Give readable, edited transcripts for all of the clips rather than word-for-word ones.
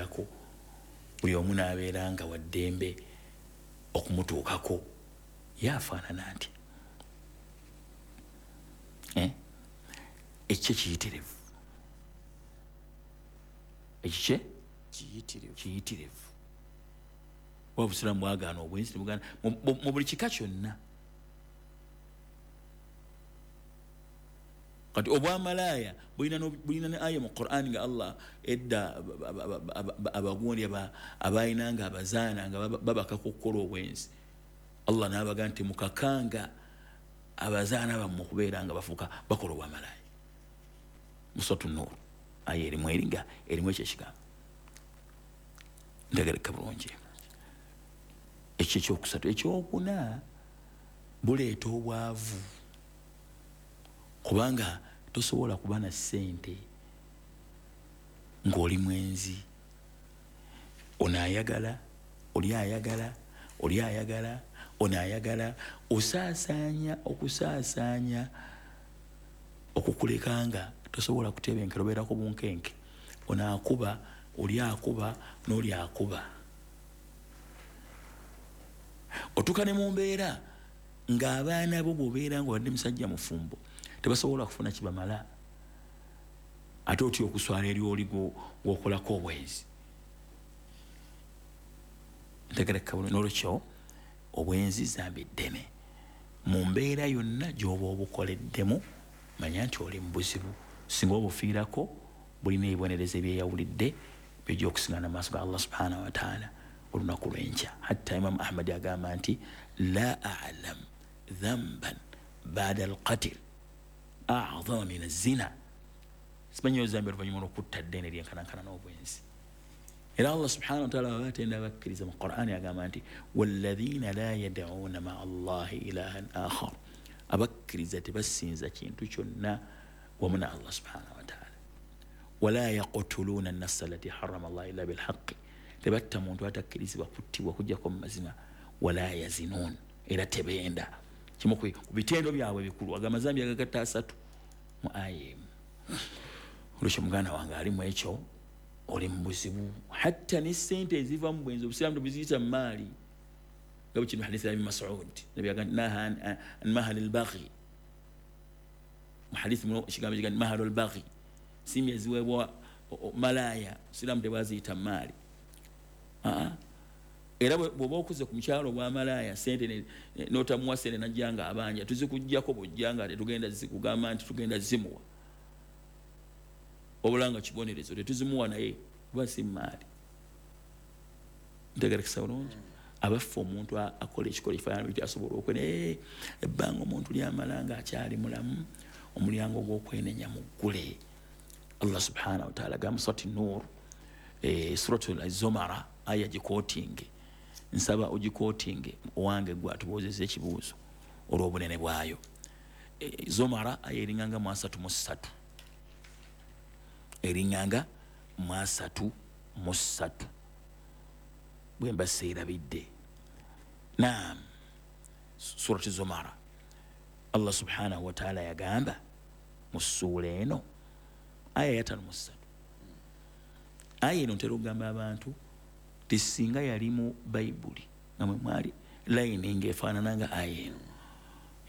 n'amwogerako, buli omu n'abeera nga waddembe okumutuukako, ye afaanana nti ekikye kiyitirivu, ekikye kiyitirivu. Obusiraamu bwagaana obwenzi, tebugaana mu buli kika kyonna. Kati obwamalaaya bulina ne aya mu Qur'an nga Allah edda abagundi abalina nga abazaana nga babakaka okukola obwenzi, Allah n'abaga nti mukakanga abazaana bammwe okubeera nga bafuuka bakola obwamalaaya. Mu Suratu Nur aya erimu eringa erimu ekyo ekigambo. Ntegereka bulungi. Ekyo ekyokusatu. Ekyokuna, buleeta obwavu, kubanga tosobola kuba na ssente ng'oli mwenzi. Ono ayagala, oli ayagala, oli ayagala, ono ayagala, osaasaanya okusaasaanya okukuleka nga tosobola kutebenkera, obeerako bunkenke. Ono akuba, oli akuba, n'oli akuba. Otuuka ne mu mbeera ng'abaana bo bw'obeera nga obadde musajja mufumbo tebasobola kufuna kibamala, ate otya okuswala eri oli gw'okolako obwenzi. Ntegereka bulungi. N'olwekyo obwenzi zambi ddene mu mbeera yonna gy'oba obukoleddemu, manya nti oli mu buzibu. Singa obufiirako, bulina ebibonerezo ebyeyawulidde byojja okusiŋŋana mu maaso ga Allah subhanahu wataala olunaku lw'enkya. Hatta Imamu Ahmadi agamba nti la alam dhamban bada alqatil a'zama min azina, simanyi ozambi oluvannyuma lw'okutta ddene lyenkanankana n'obwenzi. Era Allah subhanahu wataala baba atenda abakkiriza mu Qur'ani agamba nti walladhina la yad'una maa Allahi ilahan akhar, abakkiriza tebasinza kintu kyonna wamu na Allah subhanahu wataala. Wala yaqtuluna nafsa allati harama Allah illa bilhaqi, tebatta muntu atakkirizibwa kuttibwa kujjako mu mazima. Wala yazinun, era tebenda. Kimu ku bitendo byabwe ebikulu, agamba zambi agagatta asatu mu aya emu. Olwekyo muganda wange alimu ekyo, oli mu buzibu. Hatta ne ssente eziva mu bwenzi obusiraamu tebuziyita mu maali, nga bwe kiri mu hadisi ya Ibn Mas'ud, Nabbi agamba naha an mahali al-baghi. Mu hadisi muno ekigambo kigamba mahalu al-baghi, nsimbi eziweebwa malaaya, obusiraamu tebwaziyita mu maali. Era bw'oba okuze ku mukyalo obwamalaaya sente n'otamuwa sente najja nga abanja, tuzikuggyako bw'ojja nga tetugenda kugamba nti tugenda zimuwa, wabula nga kibonerezo tetuzimuwa, naye kuba si maali. Ntegerekesa bulungi. Abaffe omuntu akola ekikola ekifaanana bityo asobola okwene ebbanga omuntu lyamala nga akyali mulamu, omulyango gw'okwenenya muggule. Allah subhanahu wataala agamba Surati Nur, Suratu Zomara, aya gikootinge, nsaba ogikootinge owange gwe atubuuzizza ekibuuzo olw'obunene bwayo. Zomara aya eringanga mu 33, eringanga mu 33 bwe mba seerabidde. Naam, Surati Zomara, Allah subhanahu wataala yagamba mu ssuula eno aya ya 53. Aya eno ntera okugamba abantu ti singa yali mu Bayibuli nga mwe mwali layini ng'efaanana nga aya eno,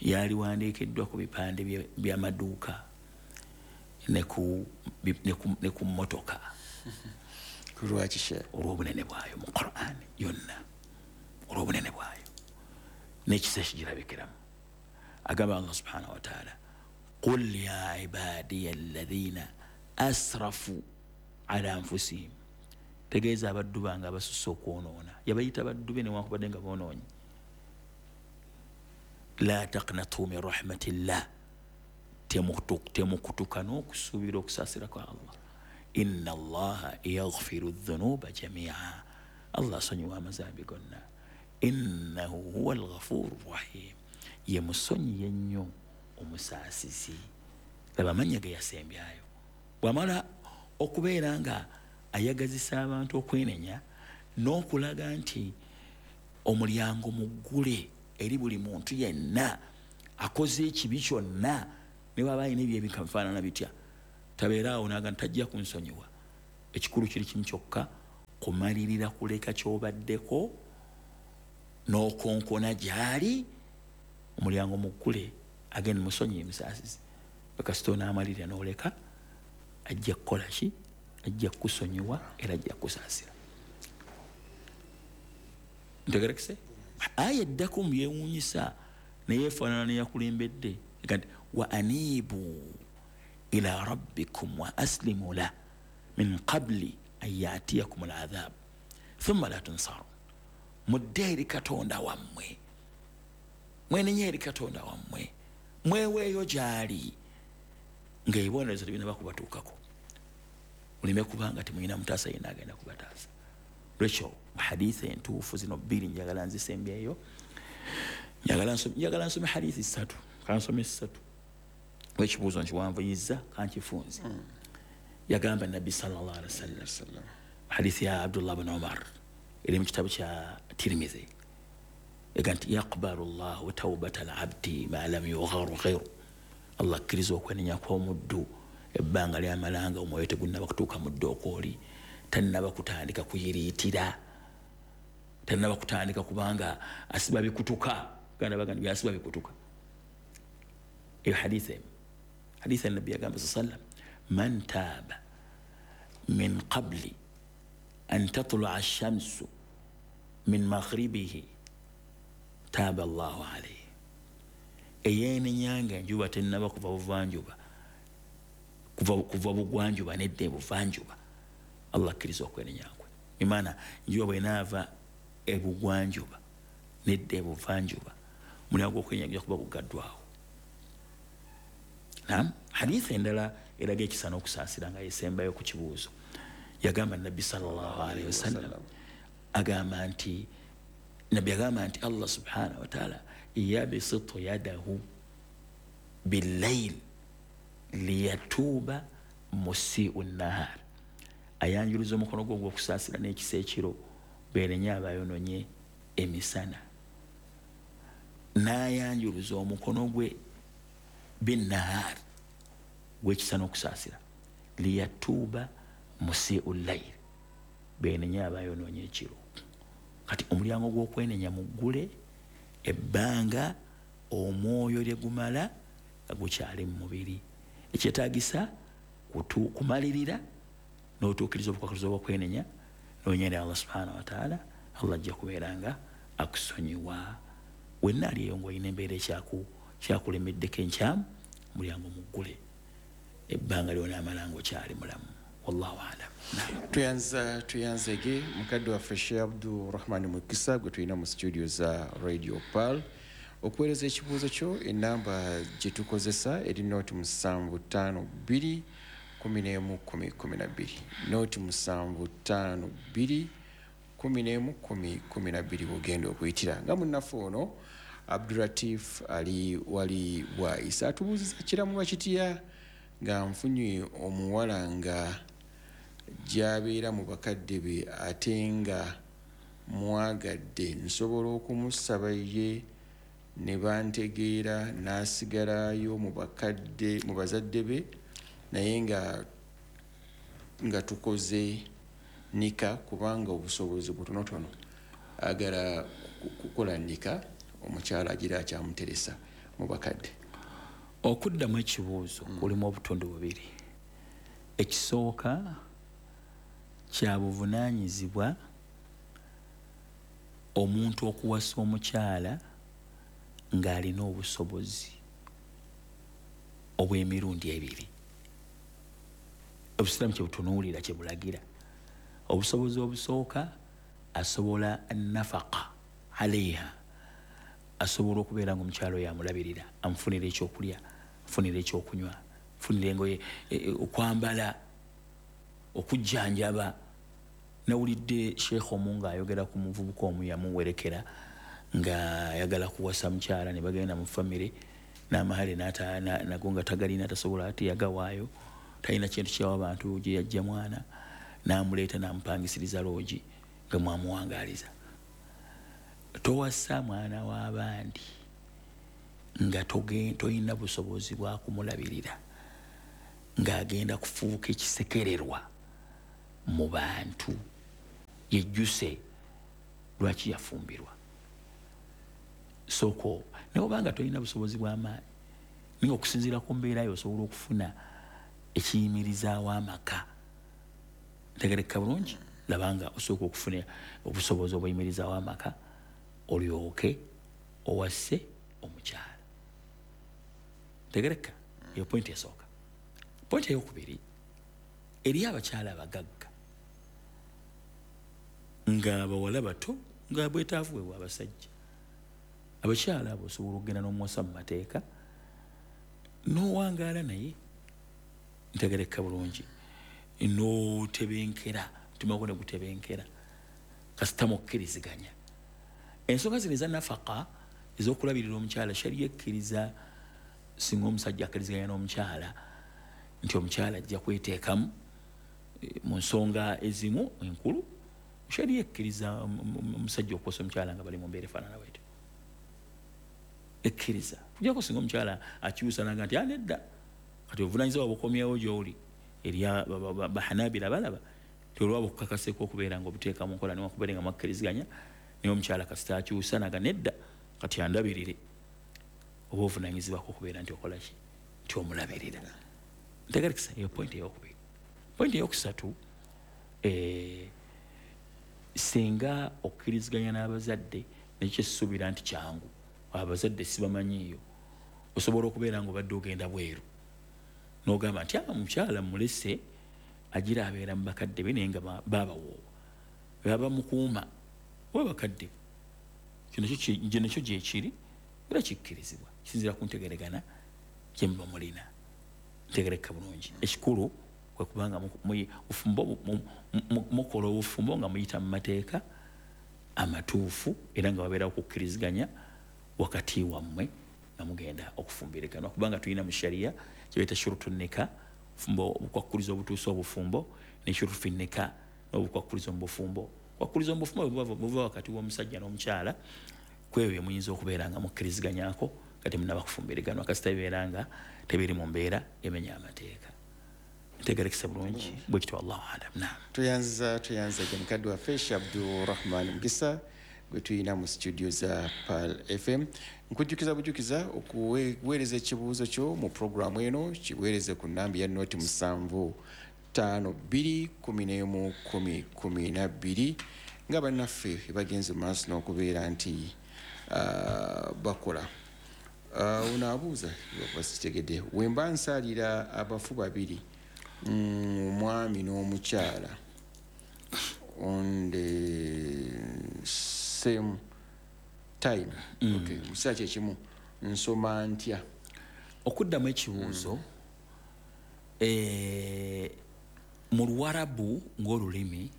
yaliwandiikiddwa ku bipande by'amaduuka ne ku mmotoka. Lwaki she? Olw'obunene bwayo mu Qur'an yonna, olw'obunene bwayo n'ekisa ekigirabikiramu. Agamba Allah subhanahu wataala, qul ya ibadiya alladhina asrafu ala anfusihim, tegeeza abaddu bange abasusse okwonoona. Yabayita baddu be newankubadde nga boonoonyi. La taqnatu min rahmatillah, temukutuka n'okusuubira okusaasira kwa Allah. Inna Allaha yaghfiru dhunuba jamia, Allah asonyiwa amazambi gonna. Innahu huwa alghafuru rahim, ye musonyiye ennyo omusaasizi. Laba amannya ge yasembyayo. Bw'amala okubeera nga ayagazisa abantu okwenenya n'okulaga nti omulyango muggule eri buli muntu yenna akoze ekibi kyonna, ne bw'aba alina ebyo ebikafaanana bitya, tabeera awo n'agamba tajja kunsonyiwa. Ekikulu kiri kimu kyokka, Kumalirira kuleka ky'obaddeko n'okonkona gy'ali, omulyango muggule, agenda musonyiye musaasizi. Kasita onaamalirira n'oleka, ajja kukola ki? Ajja kukusonyiwa era ajja kukusaasira. Ntegerekese? Aya eddako mu byewuunyisa naye efaanana neyakulembedde nti wa anibu ila rabbikum wa aslimu lah min qabli an yatiyakum al-adhab thumma la tunsarun. Mudde eri Katonda wammwe, mwenenye eri Katonda wammwe, mweweeyo gy'ali ng'ebibonerezo tebinaba kubatuukako, muleme kubanga temulina mutaasa yenna agenda kubataasa. Lwekyo hadithi entuufu zino bbiri njagala nzisembyeyo. Njagala nsome hadithi ssatu, kansome ssatu. Ekibuuzo nkiwanvuyizza kankifunze. Yagamba Nabbi sallallahu alaihi wasallam, hadithi ya Abdullah bin Umar eri mu kitabo kya Tirmidhi, ega nti yaqbalu llahu tawbata al-abdi ma lam yugharghiru. Allah akkiriza okwenenya kw'omuddu ebbanga lyamalanga omwoyo tegunnaba kutuuka mu ddokooli, tannaba kutandika kuyiriitira, tannaba kutandika kubanga asiba bikutuka. Ganda baganda byasiba bikutuka. Eyo hadithi emu. Hadithi ya Nabbi yagamba sallam, man taaba min qabli an tatlua ash-shamsu min maghribihi taaba Allahu alayhi. Eyenenyanga enjuba tennaba kuva buvanjuba, kuva bugwanjuba nedda ebuvanjuba, Allah akkiriza okwenenya kwe. Imana enjuba bw'enaava ebugwanjuba nedda ebuvanjuba, mulyango gw'okwenenya gujja kuba gugaddwawo. Naam, hadithi endala eraga ekisa n'okusaasira nga yesembayo ku kibuuzo. Yagamba Nabbi sallallahu alaihi wasallam, agamba nti Nabbi agamba nti Allah subhanahu wa ta'ala yabisitu yadahu billayl liyatuba musii'u nahar. Ayanjuluza omukono gwe ogw'okusaasira n'ekisa ekiro beenenye abayonoonye emisana. N'ayanjuluza omukono gwe binnahar, gw'ekisa n'okusaasira, liyatuba musii'u layl, beenenye abayonoonye ekiro. Kati omulyango gw'okwenenya muggule ebbanga omwoyo lye gumala nga gukyali mu mubiri. Ekyetaagisa kumalirira n'otuukiriza obukwakkulizo bw'okwenenya n'onyera Allah subhanahu wa ta'ala, Allah ajja kubeera nga akusonyiwa. Wenna ali eyo ng'olina embeera ekyakulemeddeko enkyamu, omulyango muggule ebbanga lyonaamala ng'okyali mulamu. Wallahu a'lam. Tuyanzege mukadde waffe Sheikh Abdurrahman Mukisa gwe tulina mu studio za Radio Pearl. Okuweereza ekibuuzo kyo, enamba gye tukozesa eri noti 752 11 10 12, noti 752 11 10 12 bw'ogenda okuyitira. Nga munnaffe ono Abduratif Ali wali Bwaisa atubuuziza kiramulwa kitya nga nfunye omuwala nga gy'abeera mu bakadde be ate nga mwagadde, nsobola okumusaba ye ne bantegeera n'asigalayo mu bakadde mu bazadde be, naye nga tukoze nika kubanga obusobozi butonotono, agala kukola nika omukyala agira akyamuteresa mu bakadde. Okuddamu ekibuuzo kulimu obutundu bubiri. Ekisooka kya buvunaanyizibwa omuntu okuwasa omukyala ng'alina obusobozi obw'emirundi ebiri. Obusiraamu kye butunuulira kye bulagira. Obusobozi obusooka, asobola nafaka alaiha, asobola okubeera ng'omukyala oyo amulabirira, amufunira ekyokulya, amufunira ekyokunywa, amufunira engoye, okwambala, okujjanjaba. Nawulidde Sheikh omu ng'ayogera ku muvubuka omu yamuwerekera ng'ayagala kuwasa mukyala, ne bagenda mu famire n'amahale nago nga tagalina, tasobola ate yagawaayo, talina kintu kyawa abantu gye yajja mwana, n'amuleeta n'amupangisiriza loogi nga mwamuwangaaliza. Towasa mwana w'abandi nga toyina busobozi bwa kumulabirira, ng'agenda kufuuka ekisekererwa mu bantu. Yejjuse lwaki yafumbirwa. Soko naye obanga tolina busobozi bw'amaanyi, naye okusinziira ku mbeera yo osobola okufuna ekiyimirizaawo amaka. Ntegereka bulungi, labanga osooka okufuna obusobozi obuyimirizaawo amaka olyoke owase omukyala. Ntegereka eyo pointi esooka. Pointi eyokubiri, eri abakyala abagagga nga bawala bato nga bwetaavu bwe bw'abasajja. Abakyala abo osobola okugenda n'omuwasa mu mateeka n'owangaala naye, ntegereka bulungi, n'otebenkera, omutima gwo ne gutebenkera kasita mukkiriziganya. Ensonga zino eza nafaka ez'okulabirira omukyala, shariya ekkiriza singa omusajja akkiriziganya n'omukyala nti omukyala ajja kweteekamu mu nsonga ezimu enkulu. Shariya ekkiriza omusajja okuwasa omukyala nga bali mu mbeera efaanana bwetyo, ekkiriza. Kujjako singa omukyala akyusa naga nti nedda, kati obuvunaanyizibwa bukomyewo gy'oli. Eri bahanabira balaba nti olwaba okukakaseeko okubeera nga obuteeka mu nkola newakubeere nga mwakkiriziganya, naye omukyala kasita akyusa naga nedda, kati andabirire, oba ovunaanyizibwako okubeera nti okola ki, nti omulabirira. Ntegerekesa eyo pointi eyokubiri. Pointi eyokusatu, singa okkiriziganya n'abazadde, nekyo kyessuubira nti kyangu, abazadde sibamanyiiyo, osobola okubeera nga obadde ogenda bweru n'ogamba nti omukyala mulese agira abeera mu bakadde be, naye nga babawoowa baba mukuuma oba bakadde. Kino nakyo gyekiri era kikkirizibwa, kisinziira ku ntegeregana gye muba mulina. Ntegereka bulungi. Ekikulu kwe kubanga mukola obufumbo nga muyita mu mateeka amatuufu, era nga babeerawo okukkiriziganya wakati wammwe nga mugenda okufumbiriganwa, kubanga tulina mu shariya kye bayita shurutu nika, obukwakkulizo obutuusa obufumbo, ne shurutu fi nika, n'obukwakkulizo mu bufumbo. Obukwakkulizo mu bufumbo buva wakati w'omusajja n'omukyala, ku ebyo bye muyinza okubeera nga mukkiriziganyako nga temunnaba kufumbiriganwa, kasita bibeera nga tebiri mu mbeera emenya amateeka. Ntegerekesa bulungi bwe kityo, wallahu alam. Naam. Tuyanza mukadde waffe Sheikh Abdurrahman Mukisa gwe tulina mu studio za Pearl FM. Nkujjukiza bujukiza okuweereza ekibuuzo kyo mu programu eno, kiweereze ku namba ya noti 7 5 2 11 10 12, nga bannaffe bagenze mu maaso n'okubeera nti bakola. Ono abuuza basitegedde, wemba nsaalira abafu babiri, omwami n'omukyala on the same time, okay, mu kiseera kyekimu, nsoma ntya? Okuddamu ekibuuzo, mu Luwarabu ng'olulimi,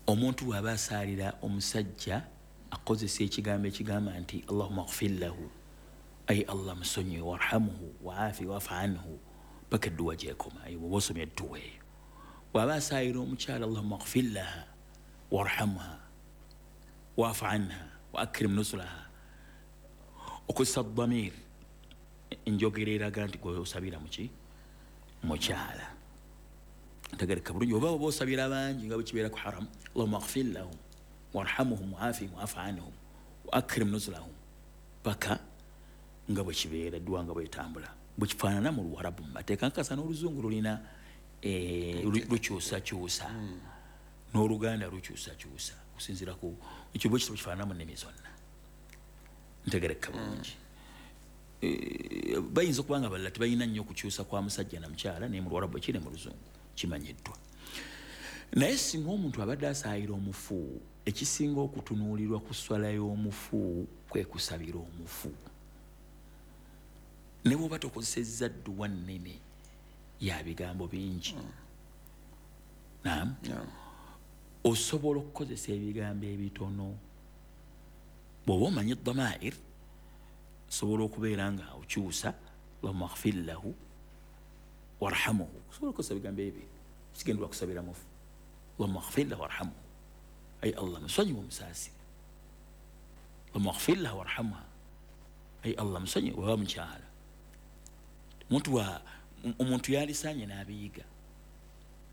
omuntu bw'aba asaalira omusajja akozesa ekigambo ekigamba nti Allahumma ighfir lahu, ay Allah musonyiwe, warhamhu waafi wafu anhu, paka edduwa gyekoma. Eyo bw'oba osomye edduwa eyo. Bw'aba asaalira omukyala, Allahumma ighfir laha warhamha wafu anha wa akrim nusulaha, okozesa damir, enjogera eraga nti gwe osabira muki, mukyala. Ntegereka bulungi. Oba oba osabira bangi nga bwe kibeera ku haram, Allahumma ighfir lahum warhamhum waafihim wafu anhum wa akrim nuzulahum, paka nga bwe kibeera edduwa nga bwetambula bwe kifaanana mu Luwarabu mu mateeka. Nkakasa n'Oluzungu lulina lukyusakyusa, n'Oluganda lukyusakyusa okusinziira ku ekyo bwe kityo kifaanana mu nnimi zonna. Ntegereka bulungi. Bayinza okuba nga balala tebalina nnyo okukyusa kwa musajja na mukyala, naye mu Luwarabu ekiri mu Luzungu kimanyiddwa. Naye singa omuntu abadde asaayira omufu, ekisinga okutunuulirwa ku swala y'omufu kwe kusabira omufu. Ne bw'oba tokozesezza dduwa nnene ya bigambo bingi, naam, osobola okukozesa ebigambo ebitono. Bw'oba omanyi damair, osobola okubeera nga okyusa Allahumma ighfir lahu warhamhu, osobola okukozesa ebigambo ebyo kigendera kusabira mufu. Allahumma ighfir lahu warhamhu, ay Allah musonyiwe omusaasire. Allahumma ighfir lahu warhamha, ay Allah musonyiwe oba mukyala. Omuntu yalisaanye n'abiyiga.